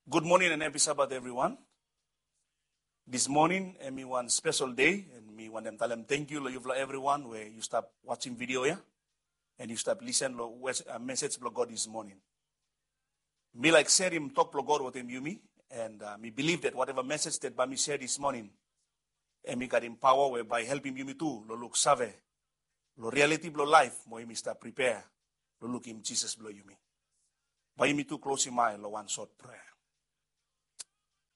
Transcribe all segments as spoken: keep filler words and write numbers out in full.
Gud moning and happy Sabbath, everyone. This morning, hemi wan spesel dei, and mi wantem talem tangkiu lo yufala everyone we yu stap wasim video ya, and yu stap lisen lo wes- uh, mesej blo God this morning. Mi laik serem tok blo God wetem yumi, and uh, mi bilif that whatever message that bae mi share this morning, hemi gatem paoa we bae i helpem yumi tu lo luksave lo realiti blo laef, mo yumi stap pripea lo lukim Jisas blo yumi. Bae yumi tu klosim ae lo wan sot prea.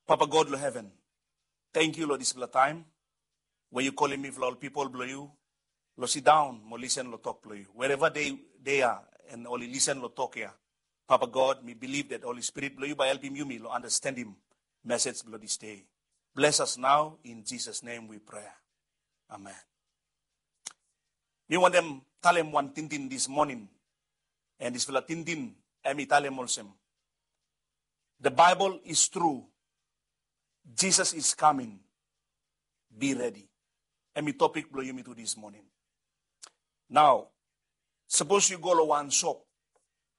Papa God lo heven, tangkiu lo disfala taem we yu kolim mifala ol pipol blo yu lo sidaon mo lisen lo tok blo yu. Wherever they, they are, and oli lisen lo tok ya, Papa God, mi bilif that Holy Spirit blo yu bae helpem yumi lo andastanem mesej blo this day. Bless us now, in Jesus' name we pray. Amen. Mi wantem talem wan tingting this morning, and disfala tingting hemi talem olsem, the Bible is true, Jesus is coming, be ready. Hemi topik blo yumi tu this morning. Nao, sapos yu go lo wan sop,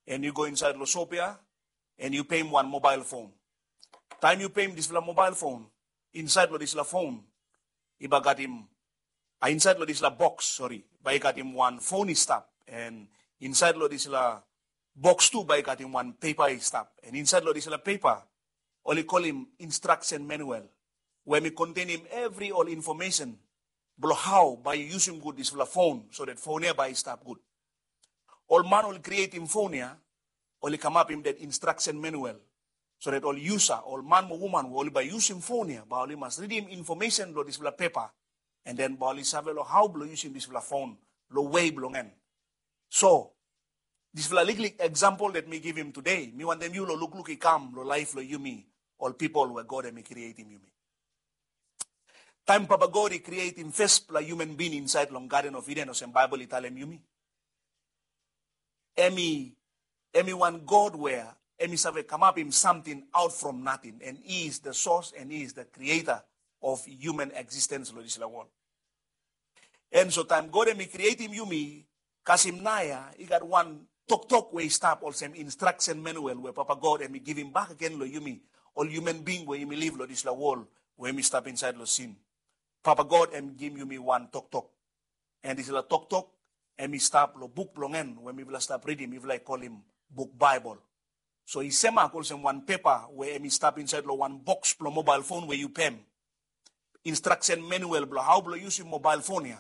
and yu go insaed lo sop ya, and yu peim wan mobile phone. Taem yu peim disfala mobile phone, insaed lo disfala phone i bae gatem, a, insaed lo disfala boks, sori, bae i gatem wan phone i stap, and insaed lo disfala boks tu bae i gatem wan pepa i stap, and insaed lo disfala pepa oli kolim instruction manual, we hemi kontenem evri ol infomesen blo hao bae yu yusum gud disfala phone, so that phone ya bae i stap gud. Ol man oli krietem phone ya, oli kamapim that instruction manual, so that ol yusa, ol man mo woman we oli bae yusum phone ya, bae oli mas ridim infomesen lo disfala pepa, and then bae oli save lo hao blo yusum disfala phone lo wei blong en. So, disfala liklik example that mi givim today, mi wantem yu lo lukluk i kam lo laef lo yumi, ol pipol we God hemi krietem yumi. Taem Papa God i krietem fesfala human being insaed long Garden of Eden, olsem Baebol i talem yumi, hemi, hemi wan God we hemi save kamapim samting out from nothing, and he is the source and he is the creator of human existence lo disfala wol. And so taem God hemi krietem yumi, kasem naoia i gat wan toktok we i stap olsem instruction manual we Papa God hemi givim bakegen lo yumi, ol human being we yumi liv lo disfala wol we yumi stap insaed lo sin. Papa God hemi givim yumi wan toktok. And disfala toktok hemi stap lo buk blong en we mifala stap ridim, mifala i kolim buk Baebol. So i semak olsem wan pepa we hemi stap insaed lo wan boks blo mobile phone we yu peim. Instruction manual blo hao blo yusum mobile phone ya.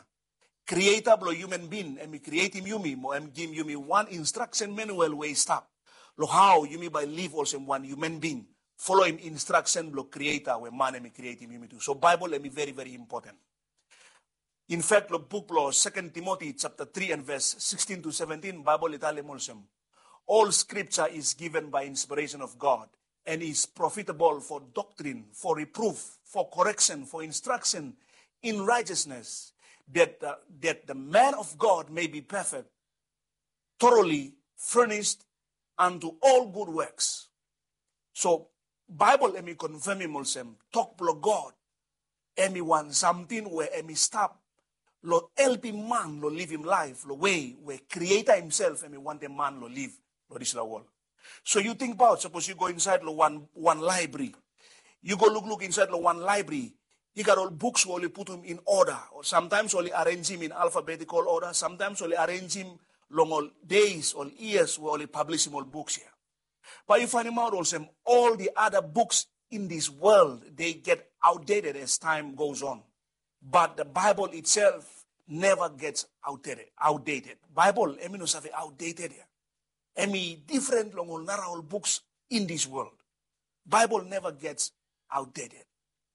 Creator blo human being hemi krietem yumi mo hemi givim yumi wan instruction manual we i stap lo hao yumi bae liv olsem wan human being, foloim instruction blo Creator we man hemi krietem yumi tu. So Baebol hemi veri, veri impoten. In fact, lo buk blo Second Timothy chapter three and verse sixteen to seventeen, Baebol i talem olsem, all scripture is given by inspiration of God and is profitable for doctrine, for reproof, for correction, for instruction in righteousness, that, uh, that the man of God may be perfect, thoroughly furnished unto all good works. So Baebol hemi konfemem olsem tok blo God hemi wan samting we hemi stap lo helpem man lo livim laef lo wei we Creator himself hemi wantem man lo liv lo disfala wol. So yu tingbaot, sapos yu go insaed lo wan, wan laebri, yu go lukluk insaed lo wan laebri, i gat ol buks we oli putum in order, o samtaems oli arenjem in alphabetical order, samtaems oli arenjem long ol deis, ol yias we oli pablisim ol buks ya. Bae yu faenemaot olsem, all the other books in this world, they get outdated as time goes on. But the Bible itself never gets outdated. Outdated. Baebol hemi no save outdated ya. Hemi difren long ol nara ol buks in this world. Baebol never gets outdated.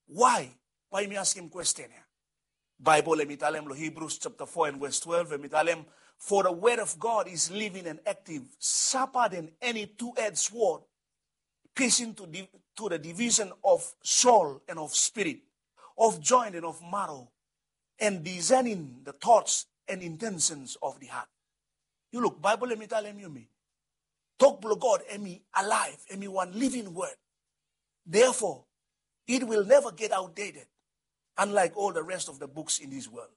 Why? Bae yumi askem kwesten ya. Baebol hemi talem lo Hebrews chapter four and verse twelve, hemi talem, for the word of God is living and active, sharper than any two-edged sword, piercing to, di- to the division of soul and of spirit, of joint and of marrow, and discerning the thoughts and intentions of the heart. Yu luk, Baebol hemi talem yumi, tok blo God hemi alaev, hemi wan living word. Therefore, it will never get outdated, unlike all the rest of the books in this world.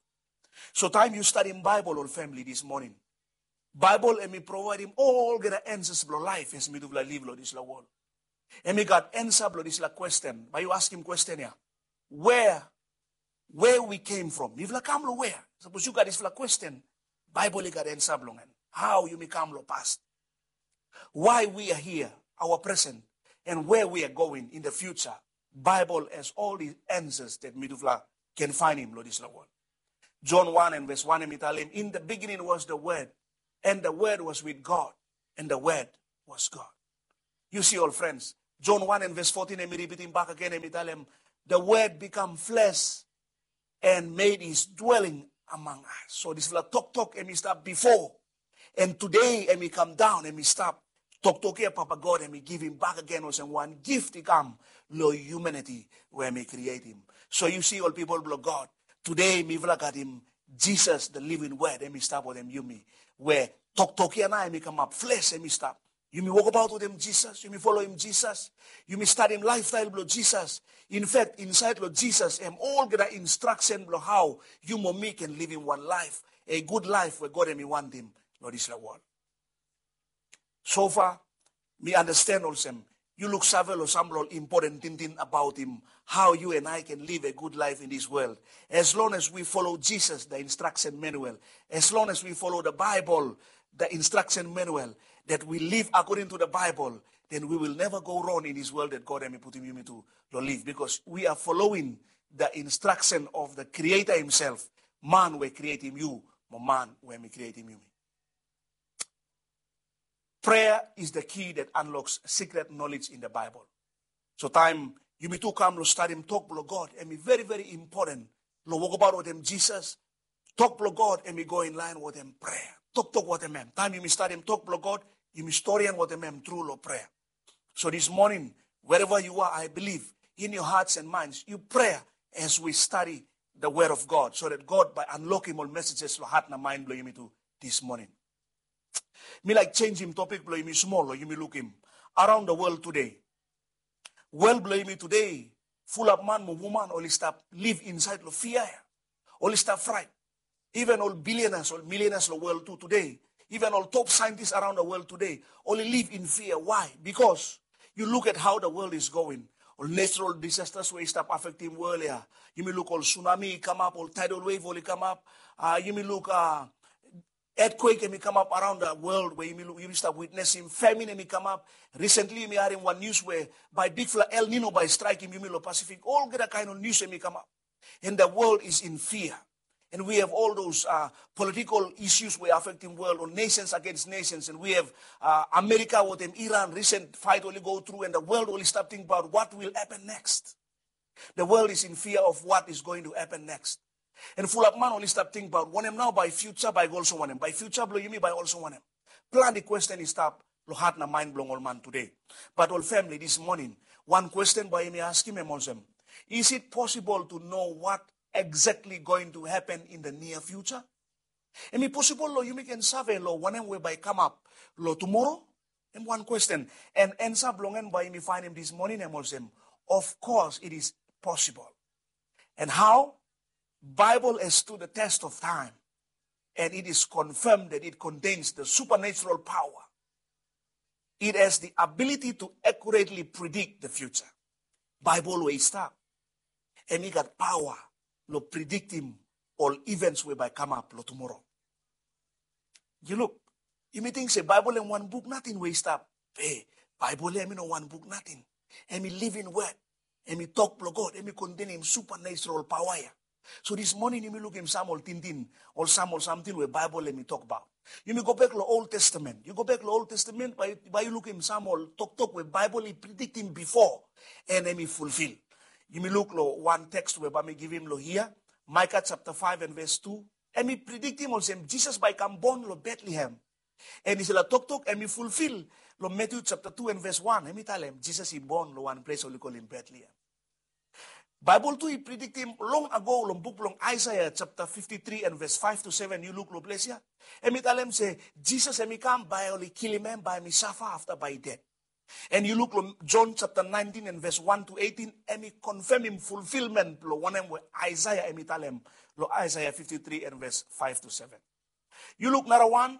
So taem yu stadim Baebol, ol famili, this morning, Baebol hemi provaedem olgeta ansas blo laef as mitufala liv lo disfala wol. Em i gat ansa blong dispela kwesten. Bai yu askim kwesten ya, where, where we came from? Mifala kam long where? Sapos yu gat dispela kwesten, Baibel i gat ansa blong en. How yumi kam long past, why we are here, our present, and where we are going in the future. Bible has all the answers that mitufala can find him long dispela world. John one and verse one, em i talem, in the beginning was the Word, and the Word was with God, and the Word was God. You see, all friends, John one and verse fourteen, em i ripitim bak agen, em i talem, the Word become flesh and made his dwelling among us. So dispela toktok em i stap bifo, and today em i kam daun, em i stap. Toktok ya Papa God em i givim bak agen olsem wan gift i kam long humanity we em i creatim. So yu si, ol pipol blong God, today mifala gatim Jesus, the living word, em i stap wetem yumi. We toktok ya nao em i kamap flesh, em i stap. Yumi wokabaot wetem Jisas, yumi foloim Jisas, yumi stadim lifestyle blong Jisas. In fact, inside long Jisas em olgeta instruction blong how yu mo mi can livim wan life, a good life we God em i wantim long dispela world. So far, mi understand olsem, yu luksave long sampela ol important tingting about him, how you and I can live a good life in this world. As long as we follow Jesus, the instruction manual, as long as we follow the Bible, the instruction manual, that we live according to the Bible, then we will never go wrong in this world that God em i putim yumi tu long live, because we are following the instruction of the Creator himself, man we creatim yu, mo man we em i creatim yumi. Prayer is the key that unlocks secret knowledge in the Bible. So taem yumi tu kam long stadim tok blong God, em i very, very important long wokabaot wetem Jisas. Tok blong God em i go in line wetem prayer. Toktok wetem em. Taem yumi stadim tok blong God, yumi storian wetem em tru long prayer. So this morning, wherever you are, I believe, in your hearts and minds, you prayer as we study the word of God, so that God bai unlockim ol messages long hat na mind blong yumi tu this morning. Mi laik changim topic blong yumi smol, long yumi lukim around the world today. World blong yumi today, fulap man mo woman oli stap live inside long fear ya. Oli stap fright. Even ol billionaires, ol millionaires long world tu today, even ol top scientists around the world today, oli live in fear. Why? Because you look at how the world is going. Ol natural disasters we i stap affectim world ya. Yumi luk ol tsunami i kamap, ol tidal wave oli kamap. Uh, yumi luk uh, earthquake em i kamap around the world we yumi, yumi stap witnessim. Famine em i kamap. Recently yumi harim wan news we bai bigfala El Nino bai strikeim yumi long Pacific. Olgeta kain ol news em i kamap. And the world is in fear. And we have all those uh, political issues we affecting world, or nations against nations. And we have uh, America wetem Iran, recent fight oli go through, and the world oli stap think about what will happen next. The world is in fear of what is going to happen next. And fulap man oli stap tingbaot wanem nao bai future bai go olsem wanem, bai future blong yumi bai olsem wanem. Plante kwesten i stap long hat na maen blong ol man tude. Bat ol famili, this morning, wan kwesten bai yumi askim em olsem, is it possible to know what exactly going to happen in the near future? Em i posibol long yumi ken save long wanem we bai kamap long tumora? Em wan kwesten. And ansa blong en bai yumi faenem this morning em olsem, of course it is possible. And how? Bible has stood the test of time, and it is confirmed that it contains the supernatural power. It has the ability to accurately predict the future. Bible we i stap, em i gat paoa long prediktim ol events we bai kamap long tumora. Yu luk, yumi ting se Baebol em wan buk nating we i stap. E, Baebol ya em i no wan buk nating. Em i living word. Em i tok blong God. Em i kontenim supernatural paoa ya. So this morning yumi lukim sam ol tingting, ol sam ol samting we Baebol em i tokbaot. Yumi gobek long Old Testament. Yu gobek long Old Testament, bai, bai yu lukim sam ol toktok we Baebol i prediktim bifo, and em i fulfil. Yumi luk long wan teks we bai mi givim long hia, Micah chapter five and verse two. Em i prediktim olsem Jisas bai kam bon long Betlehem. And dispela toktok em i fulfil long Matthew chapter two and verse one. Em i talem Jisas i bon long wan ples oli kolim Betlehem. Baebol tu i prediktim long ago long buk blong Aesea chapter fifty-three and verse five to seven. Yu luk long ples ya. Em i talem se Jisas em i kam, bai oli kilim em, bai em i safa, afta bai i ded. And yu luk long John chapter nineteen and verse one to eighteen, em i konfemim fulfilment blong wanem we Aesea em i talem long Aesea fifty-three and verse five to seven. Yu luk narawan,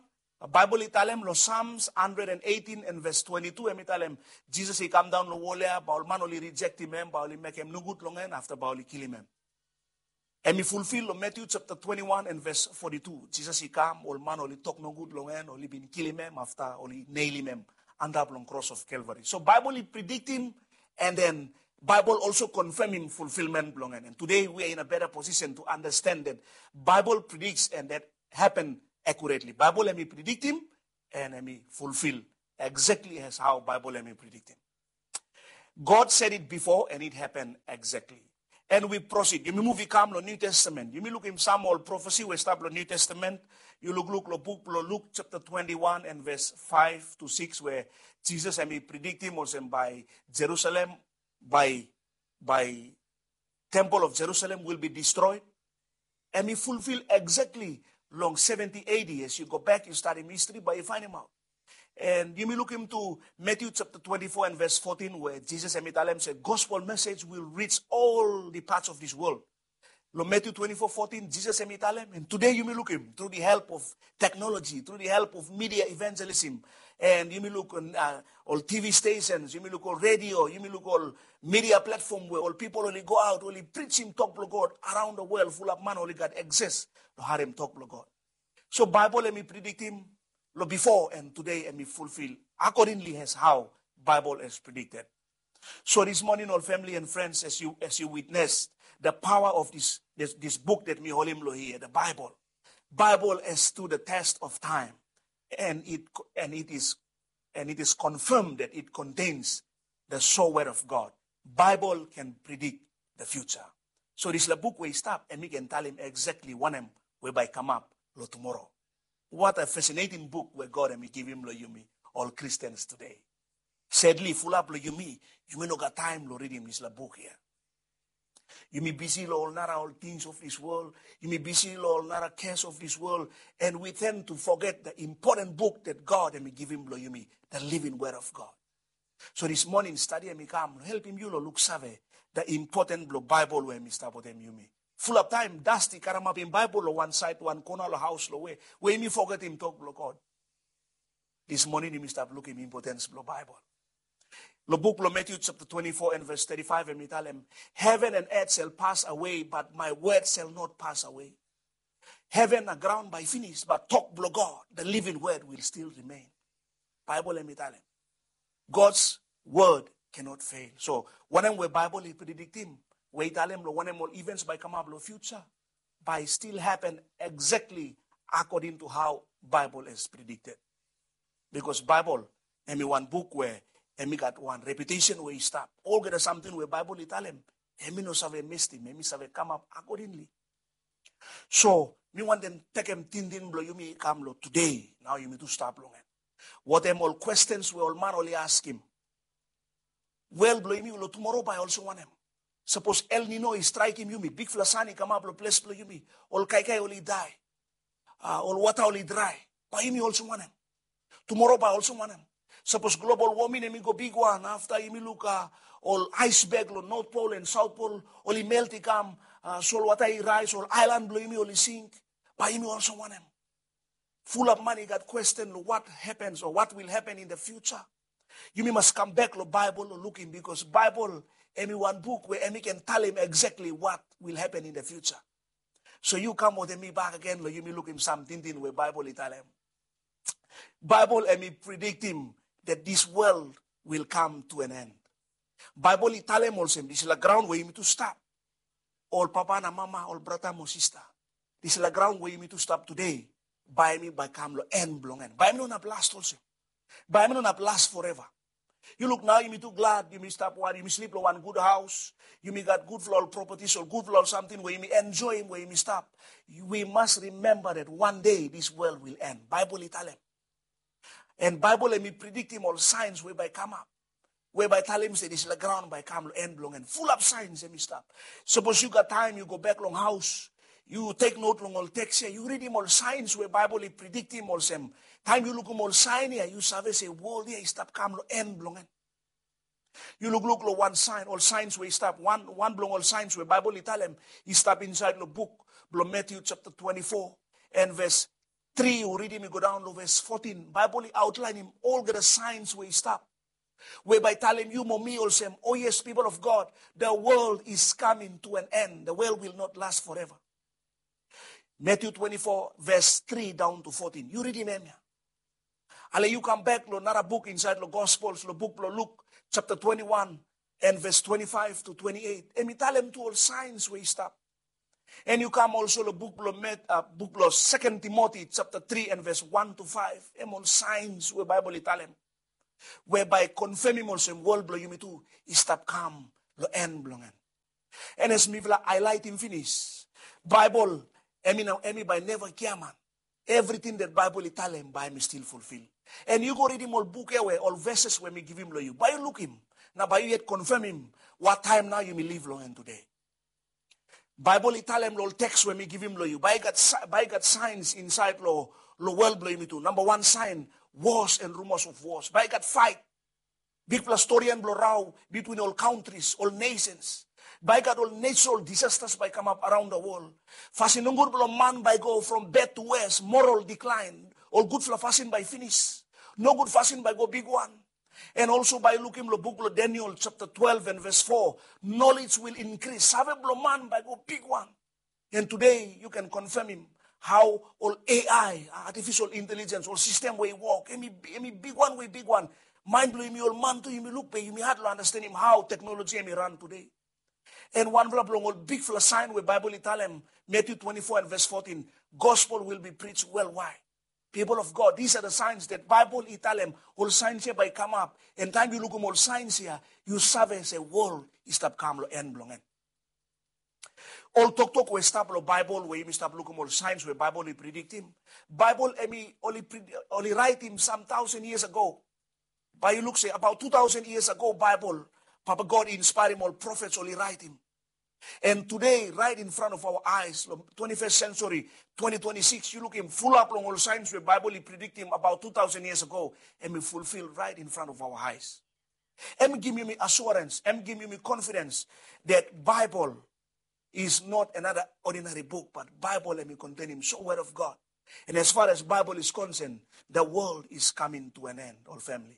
Baebol i talem long Psalms hundred and eighteen and verse twenty-two, em i talem Jisas i kam daon long wol ya, bae ol man oli rijektim em, bae oli mekem nogud long en, afta bae oli kilim em. Em i fulfil long Matthew chapter twenty-one and verse forty-two. Jisas i kam, ol man oli tok nogud long en, oli bin kilim em, afta oli neilim em antap long kros of Calvary. So Baebol i prediktim, and then Baebol also konfemim fulfilment blong en. And today we are in a better position to understand that Baebol predicts and that happen accurately. Baebol em i prediktim, and em i fulfil exactly as how Baebol em i prediktim. God said it before and it happened exactly. And we proceed. Yumi muv i kam long New Testament. Yumi lukim sam ol prophecy we stap long New Testament. Yu lukluk long buk blong Luke chapter twenty-one and verse five to six, we Jisas em i prediktim olsem bae Jerusalem, bae, bae temple of Jerusalem will be destroyed. Em i fulfil exactly long seventy A D. As yu go bak, yu stadim history, bae yu faenemaot. And yumi lukim tu Matthew chapter twenty-four and verse fourteen, we Jisas em i talem se gospel message will reach all the parts of this world. Long Matthew twenty-four fourteen, Jisas em i talem, and today yumi lukim through the help of technology, through the help of media evangelism, and yumi luk on, uh, ol T V stations, yumi luk ol radio, yumi luk ol media platform we ol pipol oli go aot, oli prijim tok blong God around the world, fulap man oli gat access long harem tok blong God. So Baebol em i prediktim long before, and today em i fulfil accordingly as how Baebol has predicted. So this morning, ol family and friends, as you, as you witness the power of this, this, this book that mi holim long hia, the Baebol. Baebol has stood the test of time, and it, and it is, and it is confirmed that it contains the sure word of God. Baebol can predict the future. So dispela buk we i stap, em i ken talem exactly wanem we bae kamap long tumora. What a fascinating book we God em i givim long yumi, ol Christians today. Sadly, fulap long yumi, yumi no gat taem long ridim dispela buk hia. Yumi bisi long ol nara ol things of this world. Yumi bisi long ol nara cares of this world. And we tend to forget the important book that God em i givim long yumi, the living word of God. So this morning study em i kam long helpim yu long luksave the important blong Baebol we em i stap wetem yumi. Fulap taem Dusty karamapim Baebol long wan saed, wan kona long haos long we, we yumi fogetim tok blong God. This morning yumi stap lukim importance blong Baebol. Long buk blong Matthew chapter twenty-four and verse thirty-five, em i talem, "Heaven and earth shall pass away, but my word shall not pass away." Heaven na graon bae i finis, but tok blong God, the living word, will still remain. Baebol em i talem, God's word cannot fail. So wanem we Baebol i prediktim, we i talem long wanem ol events bae kamap long future, bae still happen exactly according to how Baebol has predicted. Because Baebol em i wan buk we em i gat wan reputation we i stap. Olgeta samting we Baebol i talem, em i no save mistim, em i save kamap accordingly. So mi wantem tekem tingting blong yumi i kam long today, nao yumi tu stap long en. Watem ol questions we ol man oli askim? Wel blong yumi long tumora bae olsem wanem? Sapos El Nino i straekem yumi, bigfala san i kamap long ples blong yumi, ol kaikai oli dai, ah, ol wata oli drae, bae yumi olsem wanem? Tumora bae olsem wanem? Sapos global warming em i go bigwan, afta yumi luk, ah, ol aesbek long North Pole and South Pole oli melt i kam, ah, solwata i raes, ol aelan blong yumi oli sink, bae yumi olsem wanem? Fulap man i gat kwesten long what happens or what will happen in the future. Yumi mas kambek long Baebol long lukim, bikos Baebol em i wan buk we em i ken talem exactly what will happen in the future. So yu kam wetem mi bakegen long yumi lukim sam tingting we Baebol i talem. Baebol em i prediktim that this world will come to an end. Baebol i talem olsem, dispela graon we yumi tu stap, ol papa na mama, ol brata mo sista, dispela graon we yumi tu stap today, bae em i bae kam long en blong en. Bae em i no inap last olsem. Bae em i no inap last forever. Yu luk nao, yumi tu glad, yumi stap wan, yumi slip long wan gud haos, yumi gat gudfala ol properties, ol gudfala ol samting we yumi enjoem we yumi stap. We must remember that one day this world will end. Baebol i talem. And Baebol em i prediktim ol saens we bae kamap, we bae talem se dispela graon bae kam long en blong en. Fulap saens em i stap. Sapos yu gat taem yu go bek long haos, yu tek not long ol teks ya, yu ridim ol saens we Baebol i prediktim olsem. Taem yu lukim ol saen ya, yu save se wol ya i stap kam long en blong en. Yu lukluk long wan saen, ol saens we i stap, wan, wan blong ol saens we Baebol i talem i stap insaed long buk blong Matthew chapter twenty-four and verse tri yu ridim i go daon long ves fotin, Baibel i aotlaenim olgeta saens we i stap, we bae talem yu mo mi olsem, o yes, people of God, the world is coming to an end. The world will not last forever. Matthew twenty-four, ves tri daon to fotin. Yu ridim hemia. Ale yu kambek long nara buk insaed long Gospels, long buk blong Luk, chapter twenty-one, and ves twenty-five to twenty-eight. Hem i talem tu ol saens we i stap. And yu kam olso long buk blong Met, uh, buk blong Second Timothy, chapter tri, and ves one to five. Hem ol saens we Baibel i talem, we bae konfemim olsem wol blong yumi tu i stap kam long en blong en. And as mifala aelaetem finis, Baibel, hem i nao, hem i bae neva giaman. Evriting that Baibel i talem bae hem i stil fulfil. And yu go ridim ol buk ya we ol veses we mi givim long yu, bae yu lukim, nao bae yu yet konfemim wat taem nao yumi liv long en tede. Baibel i talem long ol teks we mi givim long yu, bae i gat sa-, bae i gat saens insaed long, long wol blong yumi tu. Namba wan saen, wars and rumors of wars. Bae i gat faet, bigfala storian blong rao bitwin ol kantris, ol nesens. Bae i gat ol natural disasters bae i kamap araon the world. Fasin nogud blong man bae i go from bad to worse, moral decline. Ol gudfala fasin bae i finis. Nogud fasin bae i go bigwan. And olso bae yu lukim long buk blong Daniel chapter twelve and ves foa, knowledge will increase. Save blong man bae i go bigwan. And tede yu ken konfemim hao ol A I, artificial intelligence, ol sistem we i wok, hem i, hem i bigwan we i bigwan. Maen blong yumi ol man tu, yumi luk be yumi had long andastanem hao teknoloji hem i ran tede. And wanfala blong ol bigfala saen we Baibel i talem, Matthew twenty-four and ves fotin, gospel will be preached worldwide. People of God, these are the signs that Baibel i talem, ol saens ya bae i kamap. And taem yu lukim ol saens ya, yu save se wol i stap kam long en blong en. Ol toktok we stap long Baibel we yumi stap lukim ol saens we Baibel i prediktim, Baibel hem i oli pred-, oli raetem sam taosen yias ago. Bae yu luk se abaot tu taosen yias ago Baibel, Papa God i inspaerem ol profets oli raetem. And tede, right in front of our eyes, long twenty-first century, twenty twenty-six, yu lukim, fulap long ol saens we Baibel i prediktim abaot tu taosen yias ago, hem i fulfil right in front of our eyes. Hem i givim yumi assurance, hem i givim yumi confidence that Baibel is not another ordinary book, but Baibel hem i kontenem so word of God. And as far as Baibel is concerned, the world is coming to an end, ol famili.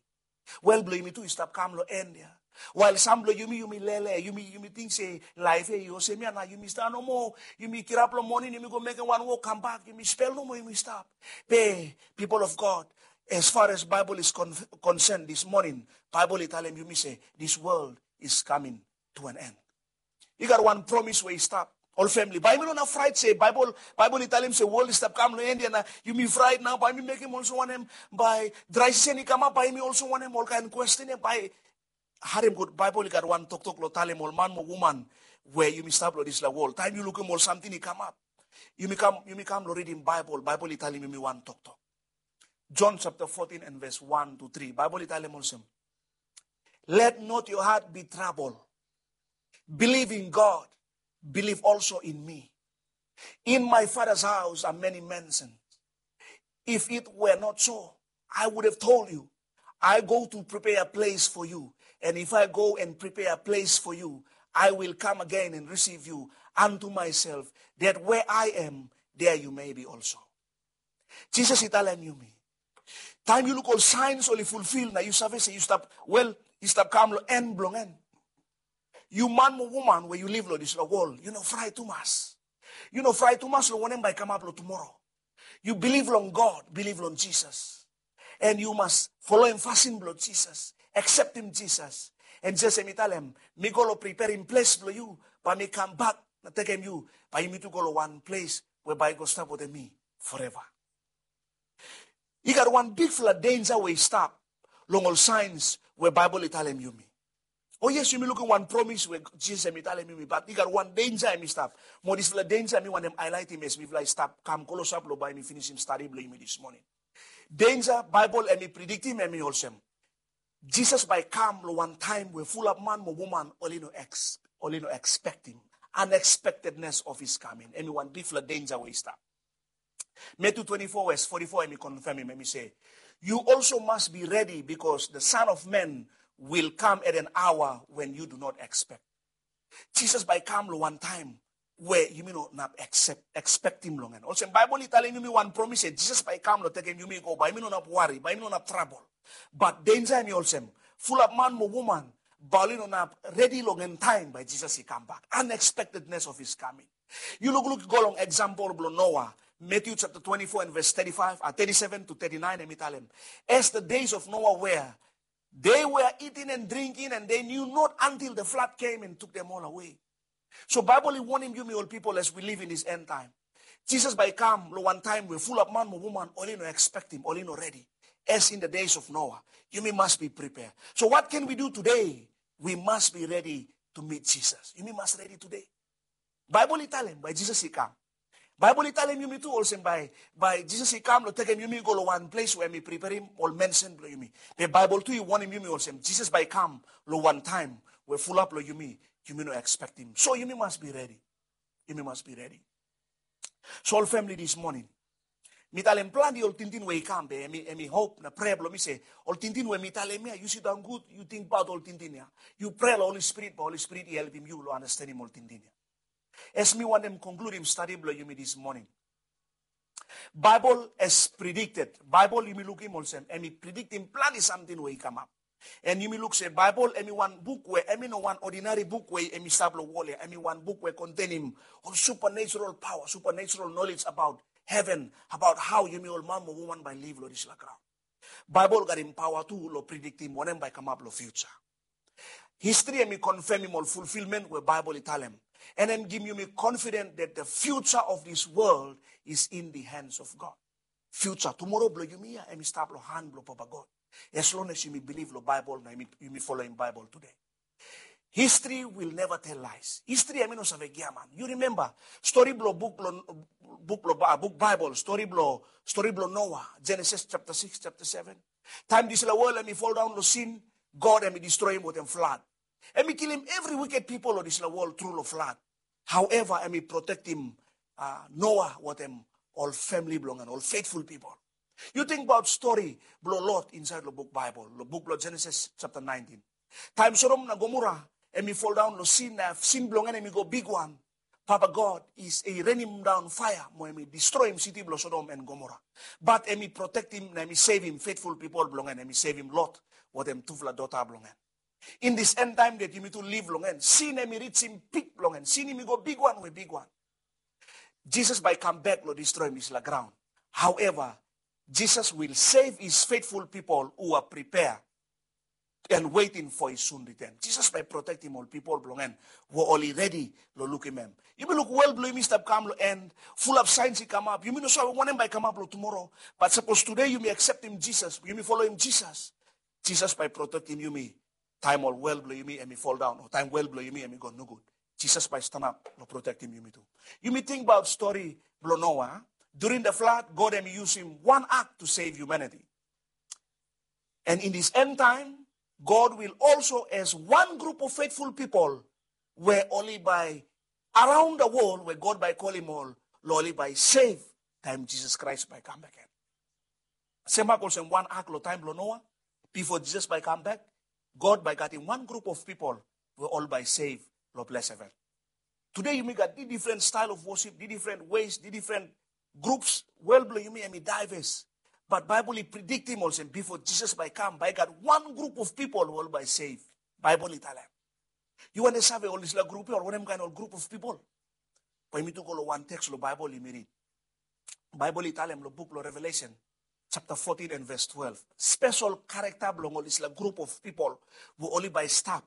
Wol blong yumi tu i stap kam long en ya. Wael sam blong yumi, yumi lele, yumi, yumi ting se laef ya i olsem ya nao, yumi stap nomo, yumi kirap long moning, yumi go mekem wan wok, kambak, yumi spel nomo, yumi stap. Be, people of God, as far as Baibel is con-, concerned this morning, Baibel i talem yumi se, this world is coming to an end. I gat wan promis we i stap. Ol famili, bae yumi no nao fraet se Baibel, Baibel i talem se wol i stap kam long en ya nao, yumi fraet nao, bae yumi mekem olsem wanem, bae drai sisen i kamap, bae yumi olsem wanem, olkaen kwesten ya, bae, harem gud, Baibel i gat wan toktok long talem ol man mo woman we yumi stap long disfala wol. Taem yu lukim ol samting i kamap, yumi kam, yumi kam long ridim Baibel, Baibel i talem yumi wan toktok. John chapter fourteen and ves one to three, Baibel i talem olsem, let not your heart be troubled. Believe in God, believe also in me. In my Father's house are many mansions. If it were not so, I would have told you. I go to prepare a place for you. And if I go and prepare a place for you, I will come again and receive you unto myself, that where I am, there you may be also. Jisas i talem yumi, taem yu luk ol saens oli fulfil, nao yu save se yu stap, wol, yu stap kam long en blong en. Yu man mo woman we yu liv long disfala wol, yu no fraet tumas. Yu no fraet tumas long wanem bae kamap long tumoro. Yu bilif long God, bilif long Jisas. And yu mas foloem fasin blong Jisas, akseptem Jisas. And Jisas hem i talem, mi go long preperem ples blong yu, bae mi kambak nao tekem yu, bae yumi tu go long wan ples we bae yu go stap wetem mi foreva. I gat wan bigfala denja we i stap long ol saens we Baibel i talem yumi. O yes, yumi lukim wan promis we Jisas hem i talem yumi, bat i gat wan denja hem i stap. Mo disfala denja mi wantem aelaetem as mifala i stap kam klosap long bae mi finisim stadi blong yumi dismoning. Denja Baibel hem i prediktim hem i olsem, Jisas bae kam long wan taem we fulap man mo woman oli no eks-, oli no ekspektem. Unexpectedness of his coming. Hem i wan bigfala denja we i stap. Matthew twenty-four verse forty-four, hem i konfemem, hem i se, you also must be ready, because the Son of Man will come at an hour when you do not expect. Jisas bae kam long wan taem we yumi no inap ekspektim long en. Olsem Baibel i talem yumi wan promis se Jisas bae i kam long tekem yumi go, bae yumi no inap wari, bae yumi no inap trabol. Bat denja hemi olsem, fulap man mo woman bae oli no inap redi long en taem bae Jisas i kambak. Unexpectedness of his coming. Yu lukluk go long eksampol blong Noa, Matthew chapter twenty-four and verse thirty-five, uh, thirty-seven to thirty-nine, hemi talem, as the days of Noah were, they were eating and drinking, and they knew not until the flood came and took them all away. So Baibel i wonem yumi ol pipol as we live in this end time. Jisas bae i kam long wan taem we fulap man mo woman oli no ekspektim, oli no redi. As in the days of Noah, yumi mas be prepare. So what can we do today? We must be ready to meet Jesus. Yumi mas redi today. Baibel i talem bae Jisas i kam. Baibel i talem yumi tu olsem bae, bae Jisas i kam long tekem yumi go long wan ples we hemi preperem ol mansion blong yumi. Be Baibel tu i wonem yumi olsem Jisas bae i kam long wan taem we fulap long yumi, yumi no ekspektim. So yumi mas be redi. Yumi mas be redi. So ol famili, this morning mi talem plante ol tingting we i kam, be hemi, hemi hop na prea blong mi se ol tingting we mi talem ia, yu sidaon gud, yu tingbaot ol tingting ia. Yu prea long Holi Spirit, bae Holi Spirit i helpem yu long andastanem ol tingting ia. As mi wantem konkludim stadi blong yumi this morning, Baibel as predicted. Baibel yumi lukim olsem hemi prediktim plante samting we i kamap. And yumi luk se Baibel hemi wan buk we hemi no wan odinari buk we hemi stap long wol ia. Hemi wan buk we kontenem ol supernatural paoa, supernatural knowledge abaot heven, abaot hao yumi ol man mo woman bae liv long disla graon. Baibel i gatem paoa tu long prediktim wanem bae kamap long fiuja. Histri hemi konfemem ol fulfilment we Baibel i talem. And hemi givim yumi confident that the future of this world is in the hands of God. Fiuja, tumoro blong yumi ia, hemi stap long han blong Papa God. As long as yumi bilif long Baibel na yumi, yumi foloem Baibel tede. History will never tell lies. History hemi no save giaman. Yu rimemba stori blong buk blong, buk blong, ah, buk Baibel, stori blong, stori blong Noa, Genesis chapter six, chapter seven. Taem disla wol hemi foldaon long sin, God hemi distroem wetem flad. Hemi kilim evri wiked pipol long disla wol tru long flad. However, hemi protektim, ah, Noa wetem ol famili blong en, ol faithful pipol. Yu tingbaot stori blong Lot insaed long buk Baibel, long buk blong Genesis chapter nineteen. Taem Sodom na Gomora hemi foldaon long sin, na sin blong en hemi go bigwan, Papa God i, i renimdaon faea mo hemi distroem siti blong Sodom and Gomora. Bat hemi protektim na hemi sevem faithful pipol blong en, hemi sevem Lot wetem tufala dota blong en. In this end time that yumi tu liv long en, sin hemi rijim pik blong en. Sin hemi go bigwan we bigwan. Jisas bae i kambak long distroem disla graon. However, Jesus will save his faithful people who are prepared and waiting for his soon return. Jisas bae i protektim ol pipol blong en we oli redi long lukim hem. Yumi luk wol blong yumi stap kam long en, fulap saens i kamap. Yumi no save wanem bae i kamap long tumoro. Bat sapos tede yumi akseptim Jisas, yumi foloem Jisas, Jisas bae i protektim yumi taem ol wol blong yumi hemi foldaon, o taem wol blong yumi hemi go nogud. Jisas bae i stanap long protektim yumi tu. Yumi tingbaot stori blong Noa. During the flood, God hemi yusum wan ark to save humanity. And in this end time, God will also, as one group of faithful people, we oli bae around the world, we God bae i kolim ol long oli bae i sev taem Jisas Kraes bae i kambak gen. Sem mak olsem wan ark long taem blong Noa, bifo Jisas bae i kambak, God bae i gatem wan grup of pipol we oli bae i sev long ples heven. Tede yumi gat difren stael of wosip, difren ways, difren grups, wol blong yumi hemi daeves. Bat Baebol i prediktim olsem bifo Jisas bae i kam, bae i gat wan grup of pipol we oli bae i sev. Baebol i talem. Yu wantem save ol disla grup ya, o wanem kaen ol grup of pipol? Bae yumi tu go long wan teks long Baebol yumi rid. Baebol i talem long buk blong Revelesen, chapter fourteen and verse twelve. Spesol karakta blong ol disla grup of pipol we oli bae i stap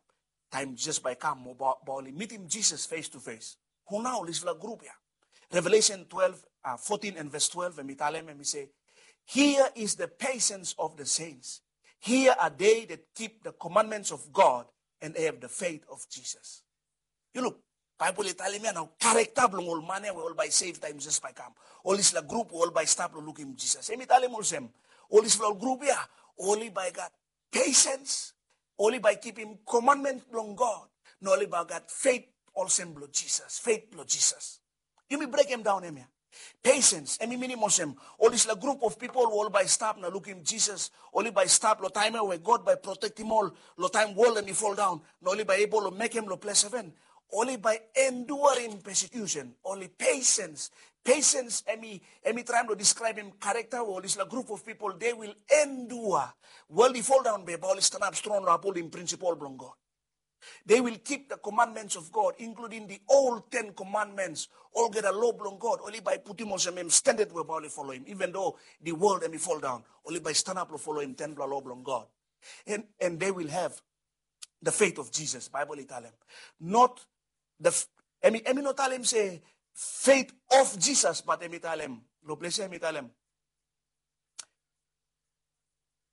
taem Jisas bae i kam, mo bae, bae oli mitim Jisas face to face. Hu nao ol disla grup ya? Revelesen twelve, uh, fourteen and verse twelve, hemi talem, hemi se, "Here is the patience of the saints. Here are they that keep the commandments of God and have the faith of Jesus." Yu luk, Baebol i talem ya nao karakta blong ol man ya we oli bae i sev taem Jisas bae i kam. Ol disla grup we oli bae i stap long lukim Jisas. Hemi talem olsem, ol disla grup ya, oli bae i gat pesens, oli bae i kipim komanmen blong God, na oli bae i gat fet olsem blong Jisas, fet blong Jisas. Yumi brekem daon hemia. Pesens, hemi minim olsem, ol disla grup of pipol we oli bae i stap na lukim Jisas, oli bae i stap long taem ya we God bae i protektim ol, long taem wol hemi foldaon, na oli bae i ebol long mekem long ples heven. oli bae enduarim persecution, oli patience. Patience, emi emi traem lo describem character we ol dispela group of people they will endure. World i fall down be bae oli stand up strong lo upholding principle blong God. They will keep the commandments of God, including the old Ten Commandments. Olgeta lo blong God oli bae putim olsem em standard we bae oli foloim, even though the world emi fall down, oli bae stand up lo foloim tenpela lo blong God. And, and they will have the faith of Jesus, Bible i talem. Not the f- emi emi no talem se faith of Jesus, but emi talem lo ples emi talem.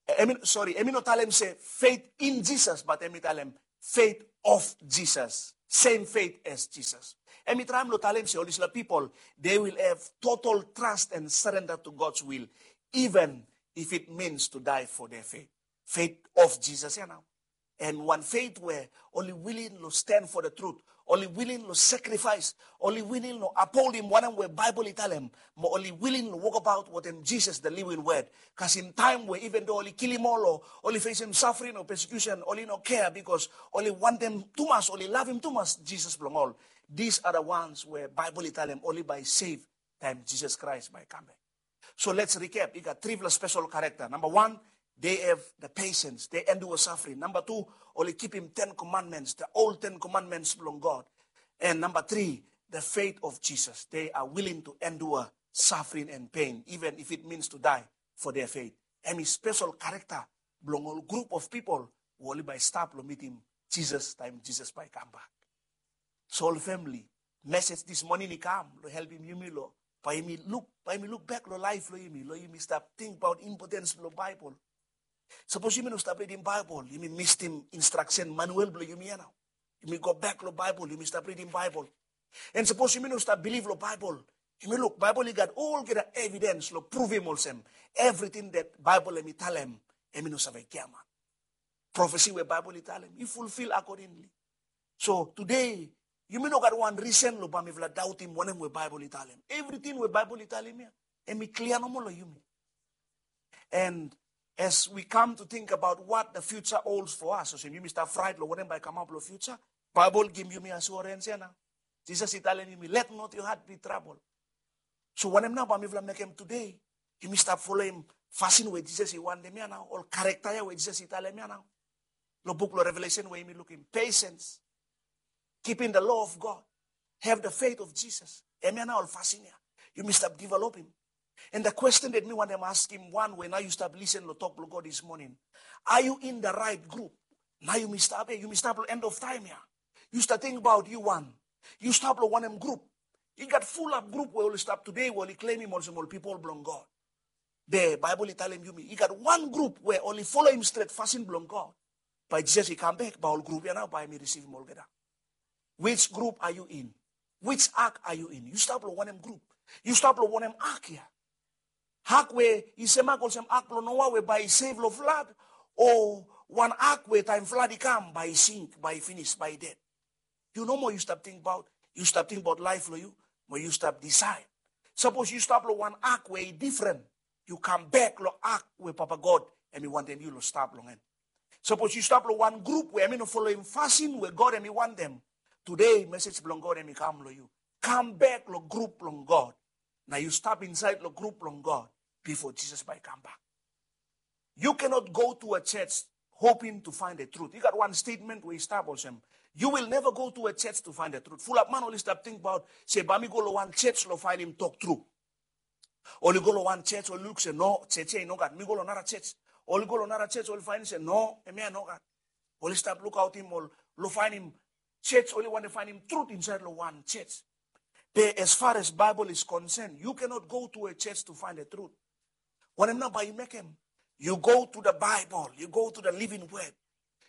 Emi, sorry, emi no talem se faith in Jesus, but emi talem faith of Jesus. Same faith as Jesus. Emi traem lo talem se ol dispela people, they will have total trust and surrender to God's will, even if it means to die for their faith. Faith of Jesus, you know. And wan faith we oli willing lo stand for the truth, oli willing lo sacrifice, oli willing lo upholdim wanem we Bible i talem, mo oli willing lo wokabaot wetem Jesus the living word. Kasem taem we even though oli kilim ol o oli facem suffering o persecution, oli no care because oli wantem tumas, oli lavem tumas Jesus blong ol. These are the ones we Bible i talem oli bae save taem Jesus Christ bae kam bek. So let's recap. I gat tripela special character. Number one, they have the patience. They endure suffering. Number two, oli kipim Ten Commandments, the old Ten Commandments blong God. And number three, the faith of Jesus. They are willing to endure suffering and pain, even if it means to die for their faith. Emi special character blong ol group of people we oli bae stap lo mitim Jesus taem Jesus bae kam bak. So ol family, message this morning i kam lo helpim yumi lo bae yumi luk, bae yumi luk bek lo laef lo yumi, lo yumi stap tingbaot importance blo Bible. Sapos yumi no stap ridim Bible, yumi mistim instruction manual blo yumi ya nao. Yumi go bek lo Bible, yumi stap ridim Bible. And sapos yumi no stap bilif lo Bible, yumi luk, Bible i gat olgeta evidence lo pruvim olsem everything that Bible emi talem, emi no save giaman. Prophecy we Bible i talem i fulfill accordingly. So today, yumi no gat wan reason lo bae mifala dautim wanem we Bible i talem. Everything we Bible i talem ya, emi clear nomo lo yumi. And as we come to think about what the future holds for us, olsem yumi stap fright lo wanem bae kamap lo future, Bible givim yumi assurance ya nao. Jesus i talem yumi, let not your heart be troubled. So wanem nao bae mifala mekem today? Yumi stap foloim fasin we Jesus i wantem ya nao, ol character ya we Jesus i talem ya nao. Lo buk lo Revelation we yumi lukim, patience, keeping the law of God, have the faith of Jesus. Hemia nao ol fasin ya yumi stap developim. And the question that mi wantem askim wan we nao yu stap listen lo tok blo God this morning, are you in the right group? Nao yumi stap ya, yumi stap lo end of time ya. Yu stap tingbaot yu wan, yu stap lo wanem group? I gat fulap group we oli stap today we oli claimim olsem ol pipol blong God. Be Bible i talem yumi i gat wan group we oli foloim stret fasin blong God. Bae Jesus i kam bek bae ol group ya nao bae mi risivim olgeta. Which group are you in? Which ark are you in? Yu stap lo wanem group? Yu stap lo wanem ark ya? Ark we i semak olsem ark blo Noah we bae i save lo flood, o wan ark we taem flood i kam bae i sink, bae i finis, bae i ded? Yu nomo yu stap tingbaot, yu stap tingbaot laef lo yu, mo yu stap decide. Sapos yu stap lo wan ark we i difren, yu kam bek lo ark we Papa God emi wantem yu lo stap long en. Sapos yu stap lo wan group we emi no foloim fasin we God emi wantem, today message blong God emi kam lo yu. Kam bek lo group blong God. Nao yu stap insaed lo group blong God bifo Jesus bae i kam bak. You cannot go to a church hoping to find a truth. I gat wan statement we i stap olsem, you will never go to a church to find a truth. Fulap man oli stap tingbaot se bae mi go lo wan church lo fainim tok tru. Oli go lo wan church, oli luk se no, church ya i nogat, mi go lo nara church. Oli go lo nara church, oli fainim se no, hemia i nogat. Oli stap lukaotim ol lo fainim church, oli wantem fainim truth insaed lo wan church. Be as far as Bible is concerned, you cannot go to a church to find a truth. Wanem nao bae yu mekem? You go to the Bible, you go to the living word.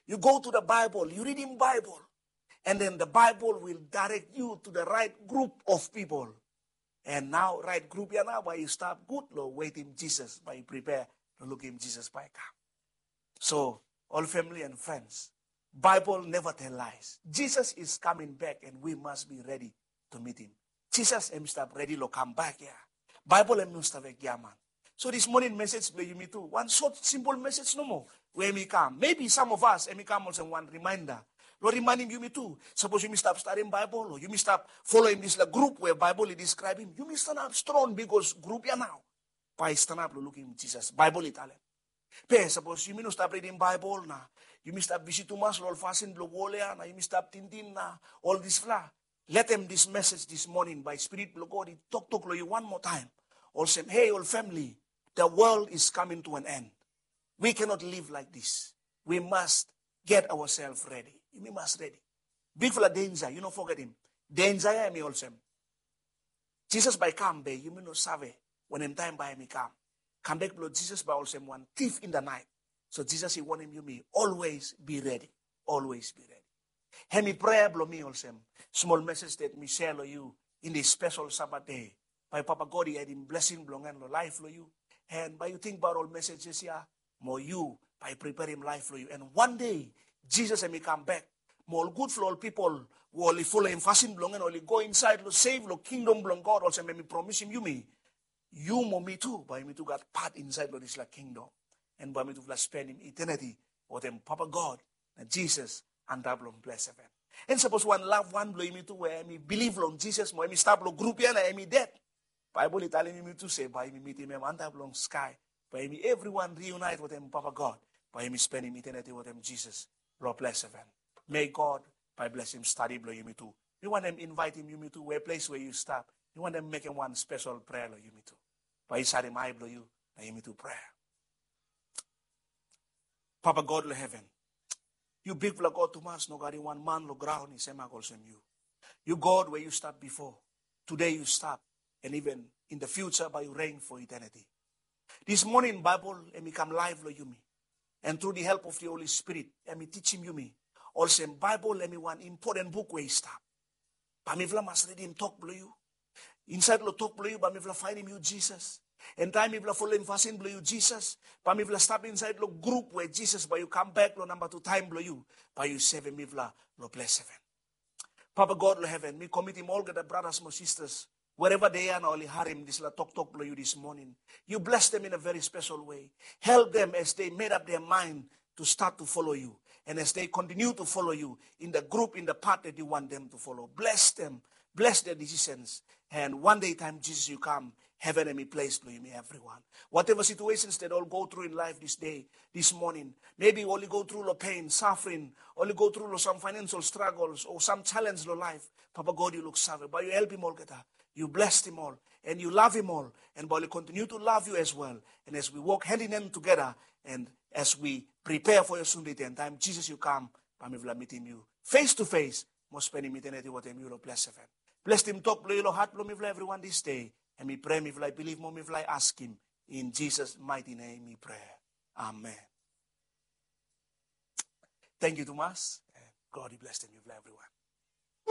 You go to the Bible, yu ridim Bible. And then the Bible will direct you to the right group of people. And nao right group ya nao bae yu stap gud lo wetim Jesus bae yu prepare lo lukim Jesus bae i kam. So ol family and friends, Bible never tell lies. Jesus is coming back and we must be ready to meet him. Jesus em i stap redi lo kam bak ya. Bible em no stap vek giaman. So this morning message blo yumi tu wan short simple message nomo we em i kam, maybe some of us em i kam olsem wan reminder Long rimainim yumi tu, sapos yumi stap stadim Baebol o yumi stap foloim dispela grup we Baebol i deskraebim, yumi stanap strong, bikos grup ya nao bae i stanap long lukim Jisas, Baebol i talem. Be sapos yumi no stap ridim Baebol na yumi stap bisi tumas long ol fasin bilong wol ya na yumi stap tingting na ol dispela, letem dis mesej dis moning bae Spirit bilong God i toktok long yu wan moa taem olsem, hei ol famili, the world is coming to an end. We cannot live like this. We must get ourselves ready. Yumi mas redi. Bikfala denja, yu no fogetim. Denja ya em i olsem, Jisas bai i kam, be yumi no save wanem taem bai em i kam. Kambek bilong Jisas bai olsem wan thief in the night. So Jisas i wanem yumi always be ready. Always be ready. Em i prea bilong mi olsem, smol mesej that mi share long yu in this special Sabat day. Bai Papa God i edim blessing bilong en long laef long yu. And bai yu tingbaot ol messages ya, mo yu bai preparim laef long yu. And one day, Jisas em i kam bek. Mo ol gutfala ol pipol we ol i foloim fasin bilong en, ol i go inside long save long kingdom bilong God, olsem em i promisim yumi, yu mo mi tu bai yumi tu gat pat inside long dispela kingdom. And bai yumi tufala spenim eternity wetem Papa God na Jisas antap long ples heven. And sapos wan loved one bilong yumi tu we em i bilip long Jisas mo em i stap long grup ya na em i ded, Baibel i talim yumi tu se bai yumi mitim em antap long skai. Bai yumi evriwan reunite wetem Papa God. Bai yumi spenim eternity wetem Jisas long ples heven. May God bai blesim stadi bilong yumi tu. Mi wantem invaitim yumi tu we ples we yu stap, mi wantem mekim wan spesol prea long yumi tu. Bai yu sarim ai bilong yu na yumi tu prea. Papa God long heven, yu bikpela God tumas, no gat i wan man long graun i semak olsem yu. Yu God we yu stap bipo, tude yu stap, and even in the future bai yu reign for eternity. This morning Bible em i kam laif long yumi, and through the help of the Holy Spirit em i tichim yumi olsem Bible em i wan important buk we i stap. Bai mifala mas ridim tok bilong yu. Insait long tok bilong yu bai mifala fainim yu Jisas. And taim mifala foloim fasin bilong yu Jisas, bai mifala stap insait long grup we Jisas bai yu kam bek long namba tu taim bilong yu, bai yu sevem mifala long ples heven. Papa God long heven, mi komitim olgeta bratas mo sistas wherever they are na ol i harim dispela toktok bilong yu this morning. You bless them in a very special way. Help them as they made up their mind to start to follow you. And as they continue to follow you in the group, in the path that you want them to follow, bless them, bless their decisions. And one day time, Jesus, you come, heaven and me place blong yumi everyone. Whatever situations that all go through in life this day, this morning, maybe ol i go through long pain, suffering, ol i go through long some financial struggles or some challenge long life, Papa God, you look save, bai yu helpim olgeta. You bless them all, and you love him all, and bai ol i continue to love you as well. And as we walk hand in hand together, and as we prepare for your soon return time, Jesus, you come, bai mifala mitim yu face to face, mo spenim eternity wetem yu long ples heven. Blessed him tok bilong yu long hat bilong mifala everyone this day. And mi pray mifala i bilip mo mifala i askim. In Jesus mighty name mi pray. Amen. Thank you tumas. God i blessed mifala everyone.